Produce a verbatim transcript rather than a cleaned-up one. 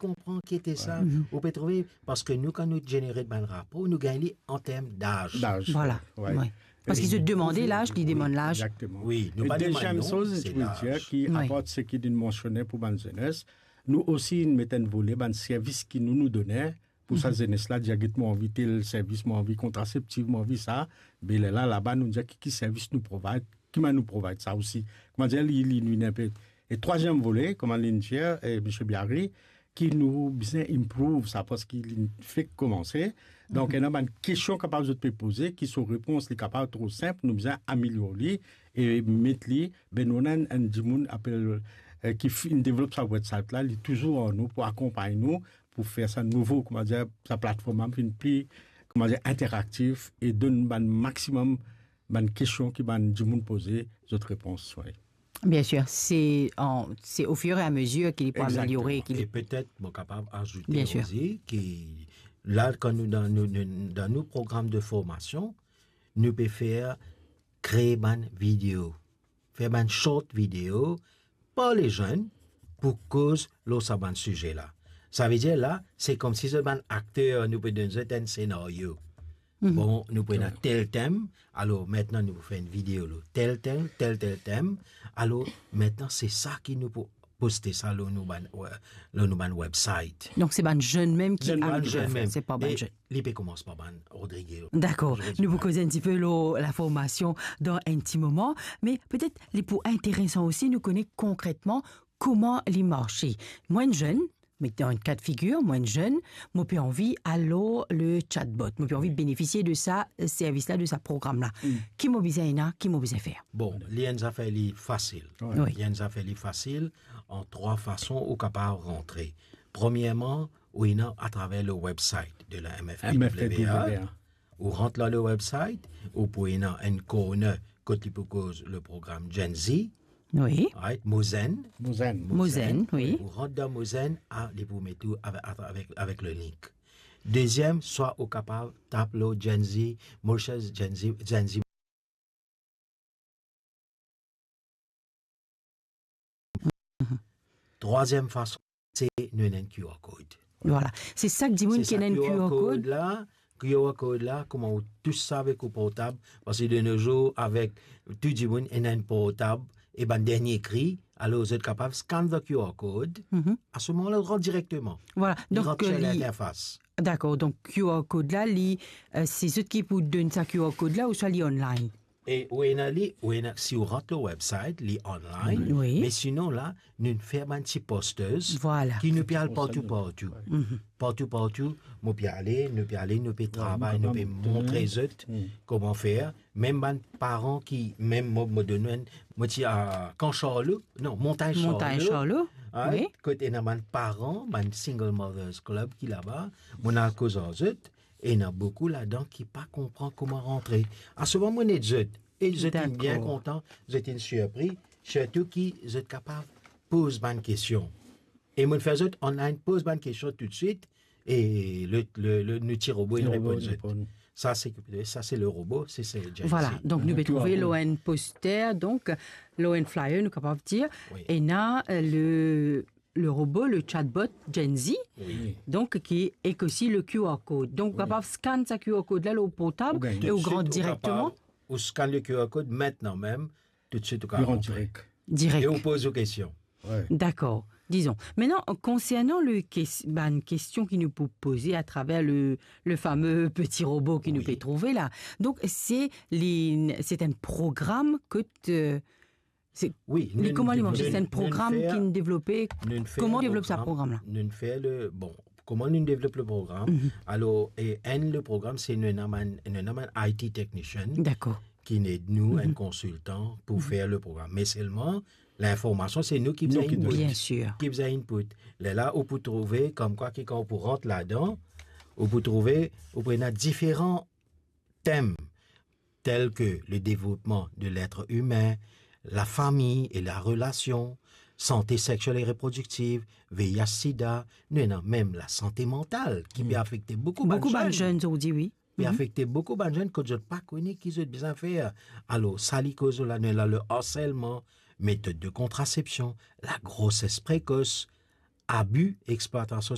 konpran ki ete sa. Ou pe trouve, parski nou, kan nou genere bann rapor, nou gagn li an term daz. Daz. Voilà, wi. Parski zot demande laz, li demann laz. Exactement. Wi, nou pa demann non, se laz. E deziem soz, se ki apar seki nou mansione pou bann zenes, nou osi met enn vole bann servis ki nou, nou done, pou sa zenes la, dir, get, mo anvi tel servis, mo anvi kontraseptif, mo anvi sa. Be lerla, laba, nou dir ki, ki servis nou provide, ki manier nou provide sa osi. Kouma dir, li, li, li inpe. E trwaziem vole, kouma li dir, e, Misie Biary, ki nou bizin improve sa, parski li fek koumanse. Donk, ena bann kestion kapav zot pe poze, ki so repons li kapav tro sinp, nou bizin amelior li, e met li, be nou ena enn, enn dimoun apel, e, ki finn devlop sa website la, li touzour ar nou pou akonpagn nou, pou fer sa nouvo, kouma dir, sa platform la vinn pli, kouma dir, interaktif e donn bann maximum bann kestion ki bann dimoun poze, zot repons, wi. Bien sûr, c'est en, c'est au fur et à mesure ki li pou ameliore, ki li... Exactement. E petet, mo kapav azoute osi ki la, kan nou dan nou, nou, dan nou program de formasion, nou pe fer kree bann video, fer bann short video par les jeunes pou koz lor sa bann size la. Savedir la, se koumsi zot bann akter, nou pe donn zot enn senario. Bon, nou pou ena tel tem, alor, mintnan nou pou fer enn video lor tel tem, tel, tel tem. Alor, mintnan, se sa ki nou pou poste sa lor nou bann, lor nou bann website. Donk, se bann zenn mem ki... Zenn, bann zenn mem. Se pa bann zenn. Li pe koumans par bann Rodrigue. Dakor. Nou pou koz enn tipe lor laformasion dan enn ti moman, me petet li pou interesan osi nou kone konkretman kouma li marse. Mwa, enn zenn, met dan enn ka de figir, mwa, enn zenn, mo pe anvi al lor le chatbot, mo pe anvi benefisie de sa, e, servis la, de sa program la. Ki mo bizin ena, ki mo bizin fer? Bon, li enn zafer li fasil. Wi. Li enn zafer li fasil, an trwa fason ou kapav rantre. Premierman, ou ena atraver le website de la M F P W A. M F P W A. Ou rant lor le website, ou pou ena enn corner kot li pou koz le program Gen Z. Wi. Right? Mo Zenn. Mo Zenn. Mo Zenn, wi. Ou rant dan Mo Zenn, a, li pou met ou avek, avek, avek le link. Deziem, swa ou kapav tap lor Gen Z, Mauritius Gen Z, Gen Z. Trwaziem fason, se nou ena enn Q R code. Vwala. Se sak dimoun ki ena enn Q R code. Se sa Q R code la, Q R code la, kouma ou tous sa avek ou portab, parski de nos jours, avek tou dimoun ena enn portab, e bann dernie kri, alor zot kapav scan the Q R code, a se moman la, ou rant direkteman. Vwala. Li rant lor linterfas. Dakor, donk Q R code la, li, e, se zot ki pou donn sa Q R code la, ouswa li online? E ou ena li, ou ena, si ou rant lor website, li online, wi, me sinon la, nou fer bann ti posters, vwala, ki nou pe al partou, partou. Partou, partou, mo pe ale, nou pe ale, nou pe travay, nou pe montre zot kouma fer. Mem bann paran ki, mem mo, mo donn enn, mo ti a Kan Charlot, non, Montagn Charlot. Montagn Charlot, wi. Kot ena bann paran, bann single mothers club ki laba, mo al koz ar zot, ena boukou ladan ki pa konpran kouma rantre. A se moman mo ed zot, e zot inn bien kontan, zot inn sirpri, sirtou ki zot kapav poz bann kestion. E mo fer zot online poz bann kestion toutswit, e le, le, le, nou ti robo inn reponn zot. Sa se, sa se le robo, se, se Gen Z. Vwala, donk nou pe trouve lor enn poster, donk lor enn flyer, nou kapav dir, ena, e, le, le robo, le chatbot Gen Z, donk ki, ek osi le Q R code. Donk ou kapav scan sa Q R code la lor portab e ou rant direkteman. Ou scan le Q R code mintnan mem, toutswit ou kapav rantre. Direk. E ou poz ou kestion. Dakor. Dizon. Mintnan, konsernan le kes-, bann kestion ki nou pou poze atraver le, le fame peti robo ki nou pe trouve la. Donk, se li, se enn program kot, e, se, wi, li, kouma li marse, se enn program ki devlope, kouma devlop sa program la? Nou fer le, bon, kouma nou devlop le program? Alor, e enn le program, se nou ena bann, nou ena bann I T technician. Dakor. Ki inn ed nou, enn konsiltan pou fer le program. Me selman, linformasion, se nou ki bizin input. Bien sûr. Ki bizin input. Lerla, ou pou trouve, koumkwa ki kan ou pou rant ladan, ou pou trouve, ou pou ena diferan tem, tel ke le devlopman de letre imin, lafami e larelasion, sante sexiel e reprodiktiv, V I H, sida, nou ena mem lasante mantal ki pe afekte boukou bann zenn. Boukou bann zenn, ou dir, wi. Pe afekte boukou bann zenn kot zot pa kone ki zot bizin fer. Alor, sa li koz la, nou ena le harselman, metod de kontrasepsion, lagroses prekos, abi, explwatasion